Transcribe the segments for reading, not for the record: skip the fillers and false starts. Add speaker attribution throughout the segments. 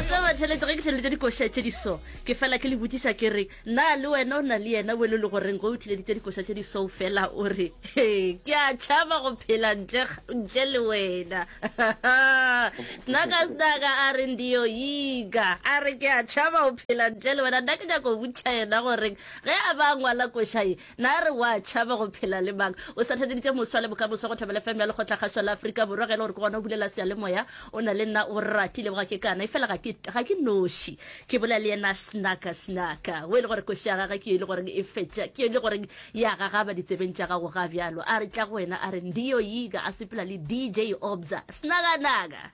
Speaker 1: La tseba tšhelete ge ke tšhelete dikoša tše di so ke fela ke le botšiša ke re na le wena o na le yena o le le goreng go o thileditše dikoša tše di so fela o re ke a tšhaba go phela ntle ntle le wena snaka snaka a re ndio yiga a re ke a tšhaba go phela ntle le wena nna ke nyaka go botšiša yena gore ge a ba ngwala koša ye Na re wa tšhaba go phela le mang? O sa theleditše moswa le bokamoso go Thobela FM ya Lekgotlakgašo la Afrika Borwa. Ge e le gore ke gona o bulela seyalemoya, o na le nna o rati leboga ke kana. Efela ga ke, ga ke noši. Ke bolela le yena Snaka Snaka. O e le gore koši ya gagwe ke e le goreng e fetša, ke e le goreng ya gagaba ditsebeng tša gago ga bjalo. A re tla go wena a re Ndiyo Yiga a sepela le DJ Obza. Snaka-naka.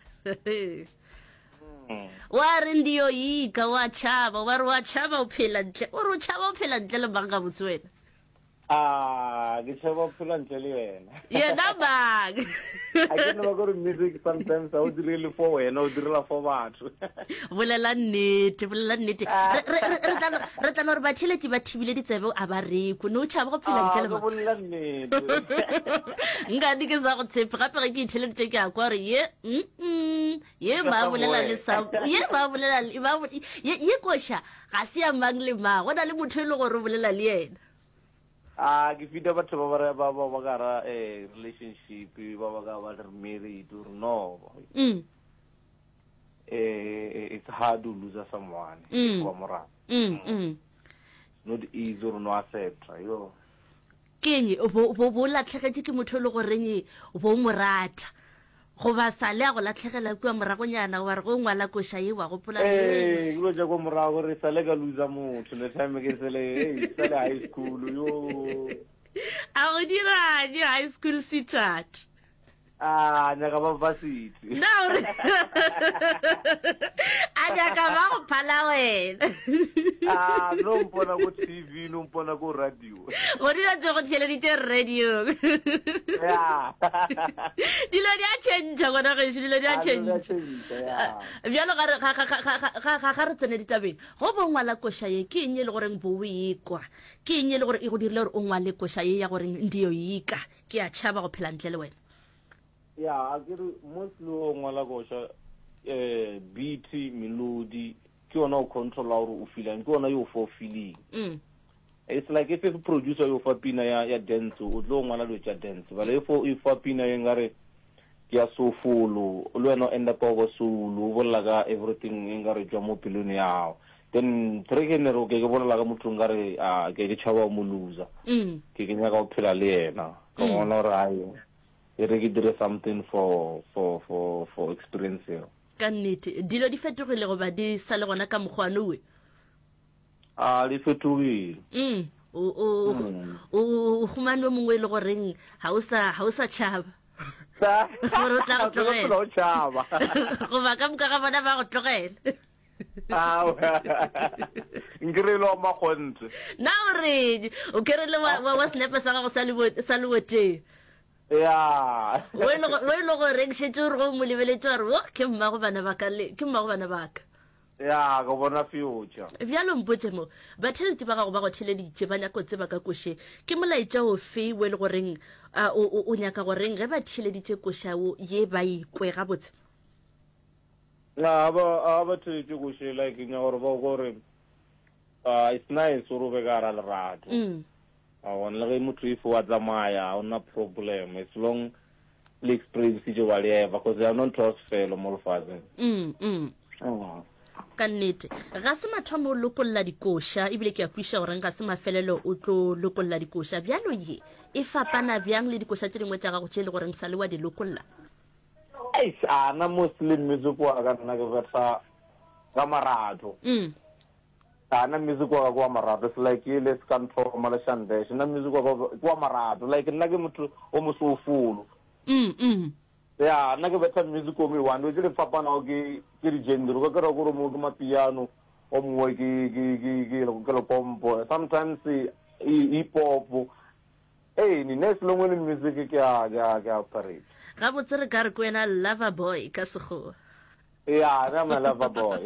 Speaker 1: Wa re ndiyoyika, wa tšhaba, wa re wa tšhaba o phela ntle, o re o tšhaba o phela ntle le mang gabotse wena?
Speaker 2: Ah, ke tšhaba o phela ntle le yena.
Speaker 1: Yena mang?
Speaker 2: A ke no ba gore music sometimes ha o direle for wena, o direla for batho.
Speaker 1: Bolela nnete, bolela nnete. Re re re tla re tla no re batheletši ba thibile ditsebe a ba rekwe. Ne o tšhaba go phela ntle le
Speaker 2: mang? Bolela nnete.
Speaker 1: Nkane ke sa go tshepe gape ge ke itheleditše ke a kwa gore ye mm Ye ba bolela le sa ye ba bolela le ba ye ye koša ga se ya mang le mang. Go na le motho e le gore o bolela le yena.
Speaker 2: A ke fita batho ba ba ba ba ba ka ra eh relationship ba ba ka ba re married or no.
Speaker 1: Mm.
Speaker 2: Eh it's hard to lose someone.
Speaker 1: Mm.
Speaker 2: Wa morata.
Speaker 1: Mm. Mm.
Speaker 2: Not easy or no accept. Yo.
Speaker 1: Keng bo bo bo latlhegetše ke motho e le goreng bo mo rata. Goba sa le a go latlhegela kua moragonyana, wa re ge o ngwala koša ye wa gopola
Speaker 2: Ee, ke lo tša kwa morago gore sa le ka loser motho le time ke sele hey sa le high school yo.
Speaker 1: A go dirang high school sweetheart?
Speaker 2: Ah, nyaka ba varsity.
Speaker 1: Na o re a nyaka ba go phala wena.
Speaker 2: Ah, no mpona ko TV, no mpona ko radio.
Speaker 1: Go dilo tse go theeleditše radio.
Speaker 2: Yeah.
Speaker 1: Dilo di a change gona gešo, dilo di a
Speaker 2: Ah, dilo di a
Speaker 1: change.
Speaker 2: change, yeah.
Speaker 1: Bjalo ga re ga ga ga ga ga ga ga re tsene ditabeng. Go bo ngwala koša ye ke eng e le goreng bo o e kwa? Ke eng e le gore e go dirile gore o ngwale koša ye ya goreng ndiyo ika? Ke a tšhaba go phela ntle le wena.
Speaker 2: Ya, a ke re mostly o ngwala koša eh beat, melody ke yona o controla gore o feelang, ke yona yo fo feeling.
Speaker 1: Mm.
Speaker 2: It's like if if producer yo fa pina ya ya dance o tlo ngwala dilo tša dance but if o fa pina ye nkare ke ya soulful le wena o end up o ba soul o bolela ka everything e nkare tšwa mo pelong ya gago then track e ne re okay ke bolela ka motho nkare a ke ke tšhaba go mo loser
Speaker 1: Mm.
Speaker 2: ke ke nyaka go phela le yena ka
Speaker 1: Mm.
Speaker 2: bona gore ai e re ke dire something for for for for experience eo
Speaker 1: Ka nnete dilo di fetogile goba di sa le gona ka mokgwa nowe?
Speaker 2: A di fetogile.
Speaker 1: Mm. O o
Speaker 2: Mm.
Speaker 1: o o humane o mongwe e le goreng ga o sa ga o sa tšhaba. Gore o tla go tlogela.
Speaker 2: O tšhaba.
Speaker 1: Goba ka moka ga bona ba go tlogela.
Speaker 2: Nkere le wa makgonthe.
Speaker 1: Na o reng? O kere le wa wa, wa senepe sa gago sa lebo sa leboteng.
Speaker 2: Ya.
Speaker 1: O e le o e le goreng šetše o re go mo lebeletše wa re wo ke mmago bana ba ka le ke mmago bana ba ka.
Speaker 2: Ya, ke bona future.
Speaker 1: Bjalo mpotše mo, batheeletši ba gago ba go theeleditše, ba nyaka go tseba ka koše. Ke molaetša ofe wo e le goreng o, o, o nyaka goreng ge ba theeleditše koša wo ye ba e kwe gabotse?
Speaker 2: Na, ba, a ba theeletše koše, like, ke nyaka gore ba kwe gore, uh, it's nice gore o be ka gara lerato.
Speaker 1: Mm.
Speaker 2: A bona, le ge motho if wa tsamaya, ga ona problem, as long le experience whatever, cause ya no ntho ya sefelo mo lefatsheng.
Speaker 1: Mm, mm.
Speaker 2: Oh.
Speaker 1: Ka nnete ga se mathomo o lokolla dikoša, ebile ke a kwiša goreng ga se mafelelo o tlo lokolla dikoša. Bjalo ye e fapana bjang le dikoša tše dingwe tša gago tše e le goreng sa le wa di lokolla?
Speaker 2: Eish, a na mostly music wa ka nna ke betha ka marato.
Speaker 1: Mm.
Speaker 2: A nna music wa ka ke wa marato, it's like ele se ka nthoma le Shandesh, nna music wa ka ke wa marato, like nna ke motho o mosoufulu.
Speaker 1: Mm, mm.
Speaker 2: Ya, nna ke betha music o mwe one, dilo tse di fapanago ke ke di genre, o ka kry-a kore o mongwe ke mapiano, o mongwe ke ke ke ke ke lekompo, sometimes hip hop, ee, nna as long e le music ke a ke a ke a operate.
Speaker 1: Gabotse re ka re ke wena lover boy ka Sekgowa.
Speaker 2: Ya, nna my lover boy.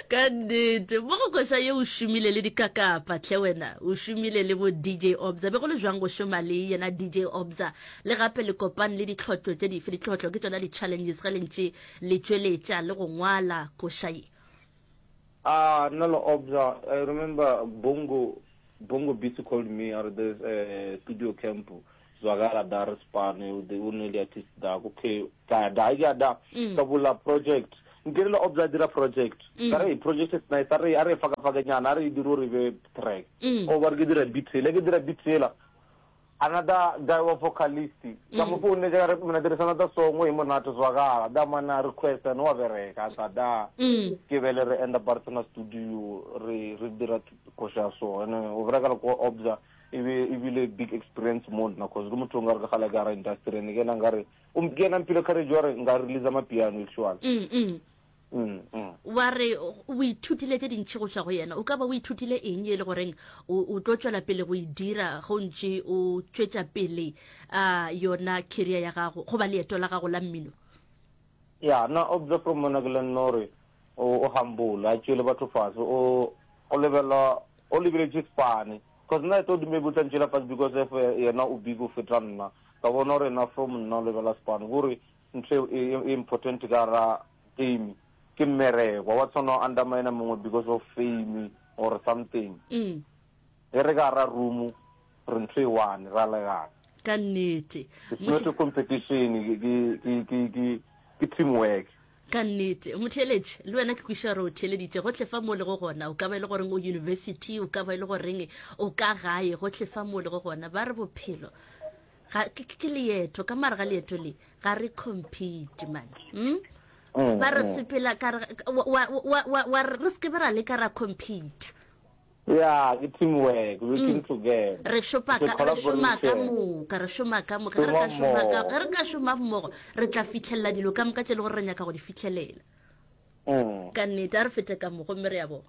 Speaker 1: Ka nnete, mo go koša ye o šomile le dikakapa hle wena, o šomile le bo DJ Obza. Be go le jwang go šoma le yena DJ Obza? Le gape le kopane le ditlhotlo tše dife? Ditlhotlo ke tšona di-challenges ge le ntše le tšweletša le go ngwala koša ye.
Speaker 2: Ah nna le Obza I remember Bongo Bongo Beats called me a re there's a studio camp zwakala da re spane o o ne le artist da okay ka ya da ke ya da ka bula project nke le Obza dira project ka re project is nice a re a re faka faka nyana a re e dire gore e be track o ba re ke dira beat ela ke dira beat ela Another guy wa vocalist ka mo founetša ka re mna there is another song e monate zwakala da man a request and wa bereka a tla da ke bele re end up re tsena studio re re dira koša ya so and o bereka le ko obza e be e bile big experience mo nna cause ke motho o nkare ke kgale ka gara industry and ke yena nkare ke yena mphile courage wa re nka release mapiano actually. Mm,
Speaker 1: mm. Wa re o ithutile tše dintši go tšwa go yena. O ka ba o ithutile eng ye e le goreng o tlo tšwela pele go e dira ge o ntše o tšwetša pele uh, yona career ya gago goba leeto la gago la mmino?
Speaker 2: Ya, nna observe from mona ke le nna gore o humble, a tšeele batho fase, o o lebela o lebeletše spane. Cause nna I thought maybe o tla ntšeela fase because of yena o big o feta nna. Ka bona gore yena from nna o lebela spane. Kore ntho e e important ka gara game ke mmereko wa tshwana o undermine mongwe because of fame or something
Speaker 1: mm.
Speaker 2: ge re ka gara room re ntho e one ra legana
Speaker 1: ka nnete
Speaker 2: it's not a competition ke ke ke ke ke teamwork
Speaker 1: ka nnete motheeletše le wena ke kweša gore o theeleditše gotlhe fa mo o lego gona o ka ba e le goreng o university o ka ba e le goreng o ka gae gotlhe fa mo o lego gona ba re bophelo ga ke ke leeto ka mare ga leeto le ga re compete man mm? mm, ba re mm. sepela ka re wa wa wa wa re se ke be ra leka ra compete
Speaker 2: yeah ke teamwork working mm. together
Speaker 1: re šopa ka re šoma ka moka re šoma ka moka re ka šoma ka re ka šoma mmogo re tla fitlhelela dilo ka moka tše le gore re nyaka go di fitlhelela
Speaker 2: Mm.
Speaker 1: Ka nnete, a re fete ka mo gomme re ya bona.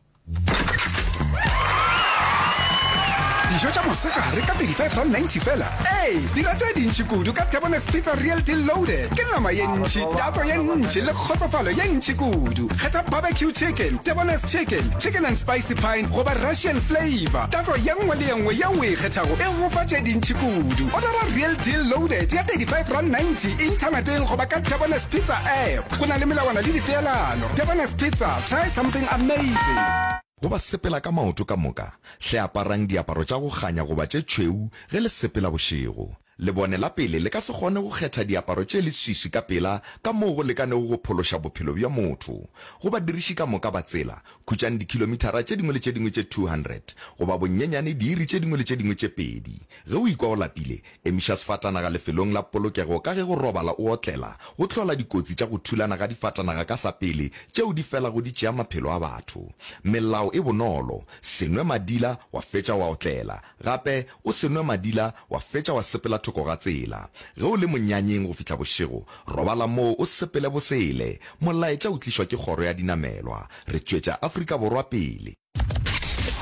Speaker 3: Dijo tša mosegare ka R35.90 fela? Ee, dira tše dintši kudu ka Debonair's Pizza Real Deal Loaded. Ke nama ye ntši, tatso ye ntši le kgotsofalo ye ntši kudu. Kgetha barbecue chicken, Debonair's chicken, chicken and spicy pine goba Russian flavour. Tatso ye nngwe le ye nngwe yeo o e kgethago e go fa tše dintši kudu. Odara Real Deal Loaded ya R35.90 inthaneteng goba ka Debonair's Pizza app. Go na le melawana le dipeelano. Debonair's Pizza, try something amazing.
Speaker 4: Go ba sepela ka maoto ka moka, hle aparang diaparo tša go kganya goba tše tšhweu ge le sepela bošego. Lebone la pele le ka se kgone go kgetha diaparo tše leswiswi ka pela ka moo go lekanego go phološa bophelo bja motho. Go badiriši ka moka ba tsela, khutšang dikhilomithara tše dingwe le tše dingwe tše 200 goba bonyenyane diiri tše dingwe le tše dingwe tše pedi. Ge o ikwa o lapile, Emiša sefatanaga lefelong la polokego ka ge go robala o otlela go hlola dikotsi tša go thulana ga difatanaga ka sa pele tšeo di felago di tšea maphelo a batho. Melao e bonolo, se nwe madila wa fetša wa otlela, gape o se nwe madila wa fetša wa sepela thoko ga tsela. Ge o le monyanyeng go fihla bošego, robala moo o sepele bosele. Molaetša o tlišwa ke Kgoro ya Dinamelwa. Re tšwetša Afrika Borwa pele.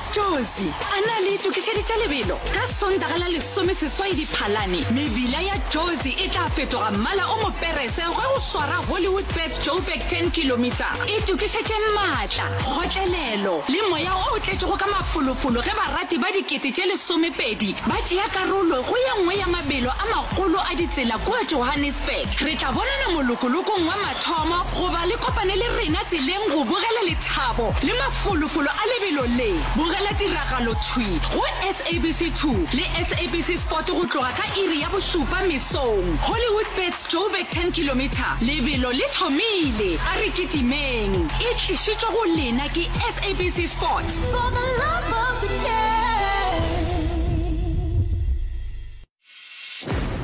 Speaker 5: Jozi, a na le itokišeditše lebelo? Ka Sontaga la lesomeseswai Diphalane, mebila ya Jozi e tla fetoga mmala o moperese ge go swara Hollywoodbets Joburg 10 kilometer. Itokišetše maatla, kgotlelelo le moya o tletšego ka mafolofolo ge barati ba dikete tše lesomepedi ba tšea karolo go ye nngwe ya mabelo a magolo a ditsela kua Johannesburg. Re tla bonana molokolokong wa mathomo goba le kopane le rena tseleng go bogela Thabo le mafolofolo a lebelo le. Bogela tiragalo thwi go SABC 2 le SABC Sport go tloga ka iri ya bošupa mesong. Hollywoodbets Joburg 10 kilometre, lebelo le thomile, a re kitimeng. E tlišitšwe go lena ke SABC Sport.
Speaker 6: For the love of the game.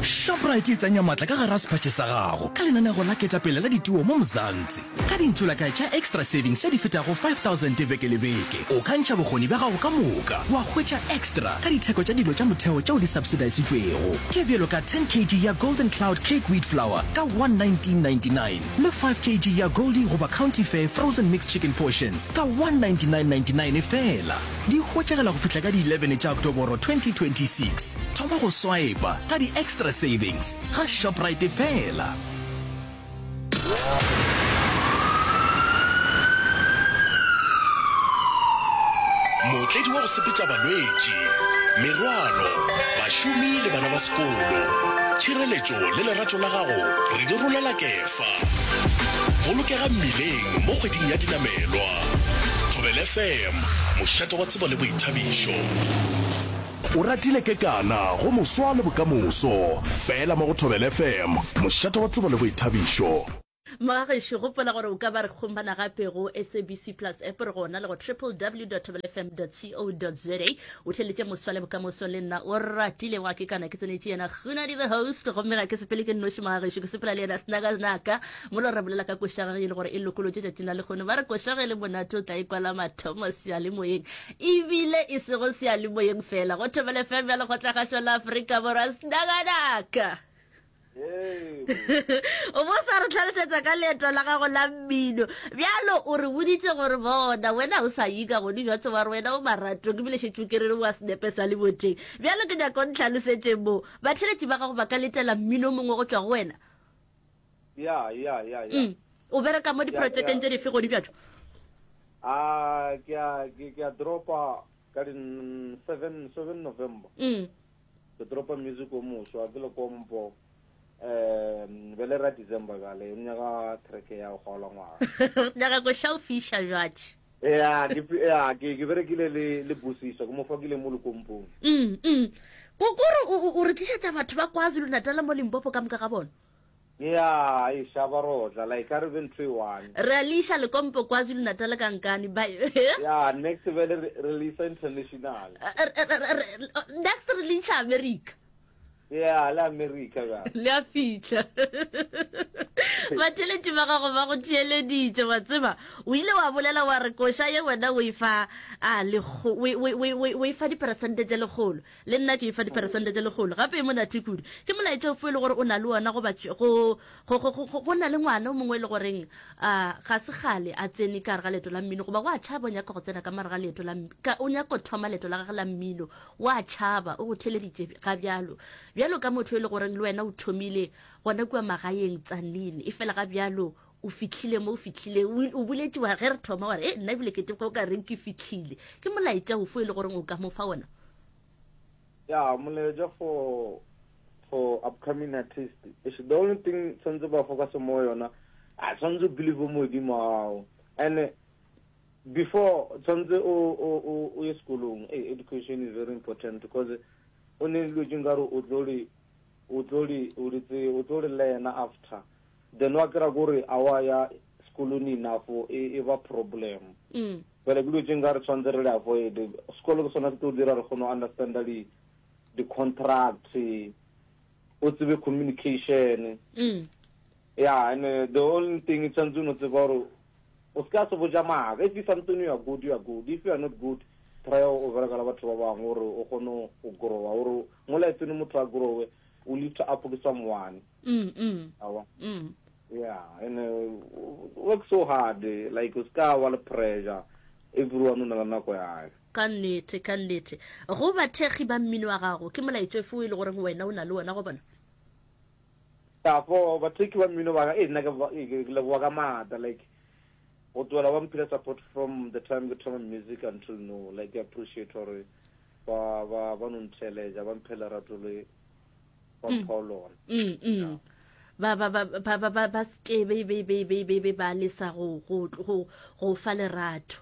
Speaker 7: Shoprite e tsenya matla ka gare ga sephatše sa gago ka lenanego la ketapele la dituo mo Mzansi. Ka dintšolakae tša Xtra Savings tše di fetago 5000 beke le beke, o ka ntšha bokgoni bja gago ka moka wa hwetša extra ka ditheko tša dilo tša motheo tšeo di subsidisitšwego, tše bjalo ka 10 kg ya Golden Cloud Cake Wheat Flour ka 119.99 le 5 kg ya Goldie goba County Fair Frozen Mixed Chicken Portions ka 199.99 feela. Di hwetšagala go fihla ka di 11 tša Oktoboro 2026. Thoma go swipa ka di Xtra Savings ga Shoprite feela.
Speaker 8: Mootledi wa go sepetša balwetši, merwalo, bašomi le bana ba sekolo. Tšhireletšo le lerato la gago re di rolela kefa. Bolokega mmileng mo kgweding ya dinamelwa. Thobela FM, mošate wa tsebo le boithabišo. O ratile kekana go moswa le bokamoso. Fela mo go Thobela FM, mošate wa tsebo le boithabišo.
Speaker 1: Mogagešo, gopola gore o ka ba re kgomana gape go SABC Plus app, re gona le go www.thobelfm.co.za. O theletše moswa le bokamoso le nna o ratile wa ke kana ke tsenetše yena Kgunadi the host, gomme ga ke sepele ke nnoši mogagešo, ke sepela le yena Snakanaka. Mola re bolela ka koša gage e le gore e lokolotše tšatšing la lekgono, ba re koša ge e le monate o tla e kwala mathomo seyalemoyeng, ebile e sego seyalemoyeng fela go Thobela FM ya Lekgotlakgašo la Afrika Borwa. Snakanaka. O bo sa re tlhalosetsa ka leeto la gago la mmino bjalo o re boditse gore bona wena o sa ika godi jwa tsoba re wena o maratong ebile šetše o kerere wa senepe sa leboteng bjalo ke nyaka o ntlhalosetše mo batheletši ba gago ba ka letela mmino mongwe go tšwa go wena
Speaker 2: Ya, ya, ya, ya.
Speaker 1: Mm. O bereka mo diprojekeng tše dife godi bjatšo?
Speaker 2: A ke a ke ke a dropa ka di 7 7 November.
Speaker 1: Mm.
Speaker 2: Ke dropa music o moswa ke le kompo. Um bele ra December bjale o nyaka track ya go kgaola ngwaga.
Speaker 1: Nyaka go šao fiša bjatše.
Speaker 2: Ya ke ya ke ke berekile le le Busiswa ke mo fakile mo lekompong.
Speaker 1: Mm mm. Ko kore o re tlišetša batho ba KwaZulu Natal mo Limpopo ka moka ga bona.
Speaker 2: Ya, eish, a ba rotla, like a re be ntho e one.
Speaker 1: Re a le iša Lekompo, KwaZulu Natal ka nkane, ba
Speaker 2: Ya, next bjale re, re le isa international.
Speaker 1: Next re le iša America.
Speaker 2: Ya, le America bjale.
Speaker 1: Le a fihla. Batheeletši ba gago ba go theeleditše, wa tseba. O ile wa bolela wa re koša ye wena o e fa a lekgo, o, o, o, o, o e fa diperesente tše lekgolo. Le nna ke e fa diperesente tše lekgolo. Gape e monate kudu. Ke molaetša ofe e le gore o na le wona goba go, go, go, go, go na le ngwana o mongwe e le goreng a ga se kgale a tsene ka gare ga leeto la mmino goba wa tšhaba o nyaka go tsena ka mare ga leeto la, ka, o nyaka go thoma leeto la gage la mmino, wa tšhaba, o go theleditše ga bjalo. Bjalo ka motho e le goreng le wena o thomile gona kua magaeng Tzaneen, efela ga bjalo o fihlile mo o fihlile, o, o boletše wa ge re thoma wa re, e nna ebile ke teko ka reng ke fihlile. Ke molaetša ofe e le goreng o ka mo fa wona?
Speaker 2: Ya, molaetša for for upcoming artist. Eish, the only thing tshwanetse ba focus mo yona, a tshwanetse o believe mo modimo wa gago. And before tshwanetse o o o o ye sekolong, hey, education is very important because o ne dilo tše nkare o tlo le o tlo le o le tse o tlo le learna after. Then wa kry-a kore a wa ya sekolong enough e e ba problem.
Speaker 1: Mm.
Speaker 2: Bjale ke dilo tše nkare tshwanetse re le avoid. Sekolo ke sona se tlo dira re kgone go understanda di di contract, o tsebe communication.
Speaker 1: Mm.
Speaker 2: Yeah, and uh, the only thing tshwanetse o no tseba gore o se ka se botša maaka. If you something you are good, you are good. If you are not good, try o bereka le batho ba bangwe gore o kgone go growa. Gore mo lifeng motho a growe, o lift up ke someone.
Speaker 1: Mm, mm.
Speaker 2: Awa.
Speaker 1: Mm.
Speaker 2: Yeah, and uh, work so hard, like o ska wa le pressure. Everyone o na le nako ya hae.
Speaker 1: Ka nnete, ka nnete. Go bathekgi ba mmino wa gago, ke molaetša ofe o e le goreng wena o na le wona go bona?
Speaker 2: Ya, for bathekgi ba mmino ba ka, eh, nna ke ba- eh, ke leboga ka maatla, like go tloela ba mphile support from the time ke thoma music until now, like ke appreciate gore ba ba ba no ntheeletša, ba mphe lerato le ba mm. mpha lona.
Speaker 1: Mm, mm. Ba ba ba ba ba ba ba ske be be be be be be ba lesa go go go go fa lerato.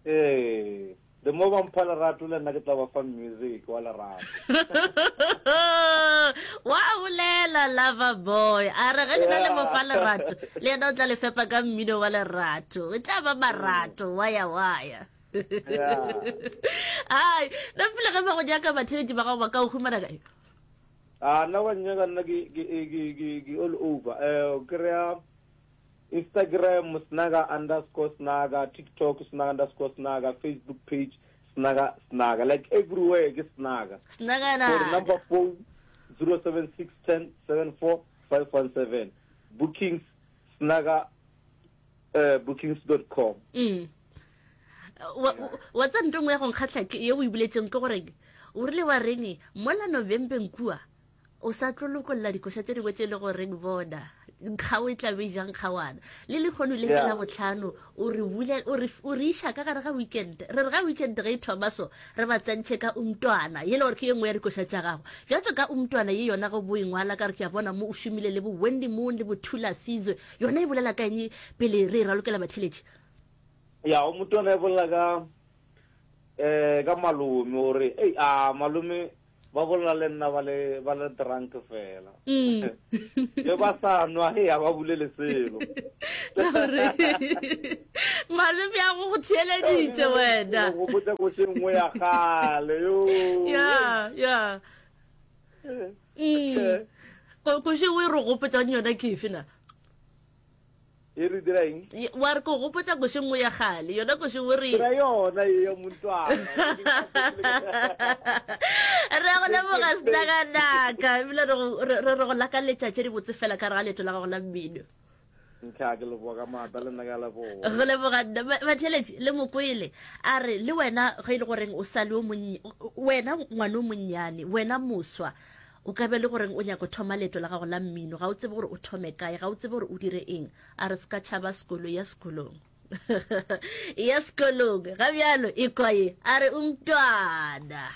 Speaker 2: Ee, the more ba mpha lerato le nna ke tla ba fa music wa lerato.
Speaker 1: Wa bolela lover boy a re ge lena le mo fa lerato le yena o tla le fepa ka mmino wa lerato e tla ba marato waya waya. Ai, nna pele ge ba go nyaka batheletši ba gago ba ka o humana kae?
Speaker 2: A nna ba nnyaka nna ke ke ke ke ke all over. Eh o kry-a Instagram snaga underscore snaga, TikTok snaga underscore snaga, Facebook page snaga snaga. Like everywhere ke snaga.
Speaker 1: Snaga
Speaker 2: na. For number phone 076 10 74 517. Bookings snaga eh bookings.com.
Speaker 1: Mm. Wa wa tsa nto nngwe ya go nkgatlha ke ye o e boletseng ke gore o rile wa reng mola Novembeng kua o sa tlo lokolla dikoša tše dingwe tše e le goreng bona nkgao e tla be e jang kgawana le lekgono le ke la botlhano o re bule o re o re iša ka gare ga weekend re re ga weekend ge e thoma so re ba tsentšhe ka umntwana ye le gore ke ye nngwe ya dikoša tša gago bjatso ka umntwana ye yona go bo e ngwala ka re ke a bona mo o šomile le bo Wendy Moon le bo Thula Sizwe yona e bolela ka eng pele re e ralokela batheletši?
Speaker 2: Ya, o motwana e bolela ka eh ka malome o re ei a malome ba bolela le nna ba le ba le drunk fela.
Speaker 1: Mm.
Speaker 2: Ge ba sa nwa he a ba bolele selo.
Speaker 1: Malome a go go theeleditše wena.
Speaker 2: Go botsa ko se nngwe ya kgale yo.
Speaker 1: Ya, ya. Mm. Ko ko se o e re gopotsa yona ke efe na?
Speaker 2: E re dira eng?
Speaker 1: Wa re ko gopotsa koše nngwe ya kgale, yona koše o re.
Speaker 2: Dira yona ye ya montwana.
Speaker 1: Re go leboga senakanaka ebile re re go lakaletša tše dibotse fela ka re ga leeto la gago la mmino.
Speaker 2: Ntlha ke leboga ka maatla le nna ke a leboga.
Speaker 1: Go leboga nna batheletši le mokwele a re le wena ge e le goreng o sa le o monnye wena ngwana o monnyane wena moswa O ka be le goreng o nyako thoma leeto la gago la mmino, ga o tsebe gore o thome kae, ga o tsebe gore o dire eng. A re se ka tšhaba sekolo, ya sekolong. Ya sekolong. Ga bjalo, ekwa ye. A re o mtwana.